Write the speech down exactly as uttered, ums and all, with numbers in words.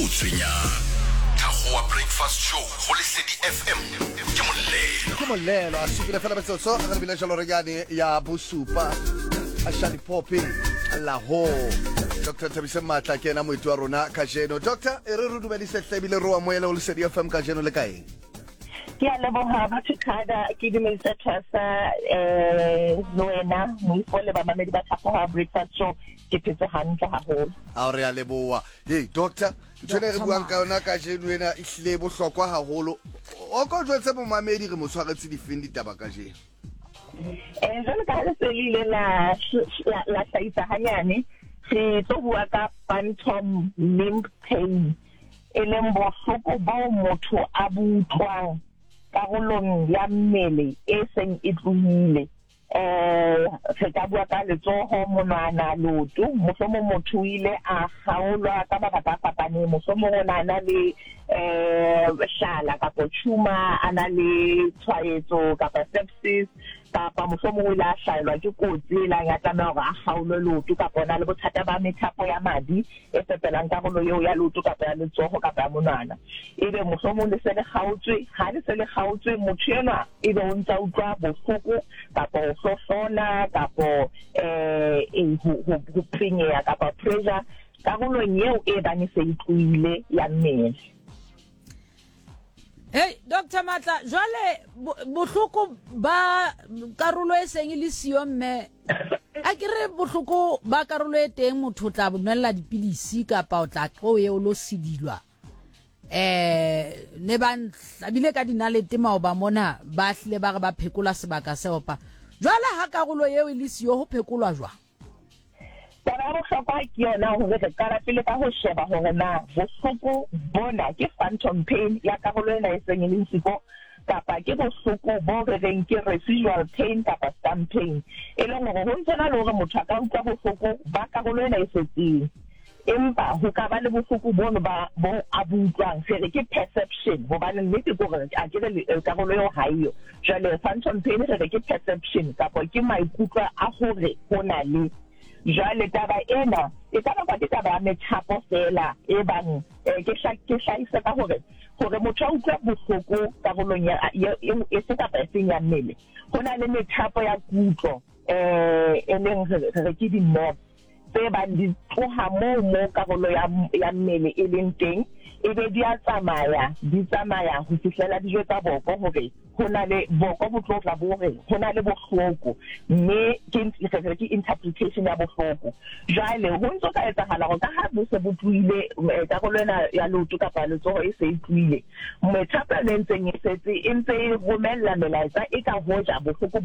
o tshwenyang. Thakgowa Breakfast Show go Lesedi F M ke Molelo. Ke Molelo a supile fela metsotso re lebile jalo re yane ya bosupa. A Shali Popi Lahore. Doctor Thabise Matla ke ena moeti wa rona kajeno. Doctor, e re re dumedise hle ebile re o amohele ho Lesedi F M kajeno. Le kae? Ke a leboha, batho kada ke dumedisa Thasa, eh le wena Moifo, le bamamedi ba Thaphoha Breakfast Show. Ke phetse hantle haholo. A re a leboha. Hey doctor, ntho ena e re buang ka yona kajeno ena e hlile e bohlokwa haholo. O ko jwetse momamedi re mo tshwaretse difeng ditaba kajeno? eh jwalo ka ha le se le ile la la la hlahisa hanyane, re tlo bua ka phantom limb pain, e leng bohloko boo motho a bo utlwang karolong ya mmele e seng e tlohile. eh re ka bua ka letsoho, monwana, leoto. Mohlomong motho o ile a kgaolwa ka mabaka a fapaneng, mohlomong o na na le eh hlala kapa tumor, a na le tshwaetso kapa sepsis, kapa mohlomong o ile a hlaelwa ke kotsi e lang ya tlameha hore a kgaolwe leoto, kapa o na le bothata ba methapo ya madi e fepelang karolo eo ya leoto kapa ya letsoho kapa ya monwana, ebe mohlomong le se le kgaotswe. Ha le se le kgaotswe, motho enwa ebe o ntsa utlwa bohloko kapa ho hlohlona kapo eh ho ho penyeha kapa pressure karolong eo e bang e se e tlohile ya mmele. Hey Doctor Matla, jwale bohloko ba karolo e seng e le siyo, mme a ke re bohloko ba karolo e teng, motho o tla nwella dipilisi kapa o tla tlo ye o lo sidilwa. eh ne ba hlabile ka dinalete maoba mona, ba hlile ba re ba phekola sebaka se opa. Jwale ha karolo eo e le siyo, ho phekolwa jwang? Taba ya bohlokwa ke yona hore re qala pele ka ho sheba hore na bohloko bona ke phantom pain ya karolo ena e seng e leng siko, kapa ke bohloko bo re reng ke residual pain kapa stump pain, e leng hore ho ntse na le hore motho a ka utlwa bohloko ba karolo ena e setseng, empa ho ka ba le bohloko bono ba bo a bo utlwang, re re ke perception, hobane nnete ke hore a ke re karolo eo ha eyo. Jwale phantom pain re re ke perception kapa ke maikutlo a hore ho na le. Jwale taba ena e ka bakwa ke taba ya methapo fela e bang ke ke hlahise ka hore hore motho a utlwe bohloko karolong ya e se kapa e seng ya mmele, ho na le methapo ya kutlo eh e leng re re ke di-nerve tse bang di tloha moo mo karolo ya ya mmele e leng teng, ebe di a tsamaya, di tsamaya ho fihlela dijo tsa boko hore ho na le boko bo tlo tla bo re ho na le bohloko, mme ke re ke interpretation ya bohloko. Jwale ho ntso ka etsahala hore ka ha bo se bo tlohile, karolo ena ya leoto kapa letsoho e se e tlohile, methapo e ntseng e setse e ntse e romella melaetsa e ka hoja bohloko.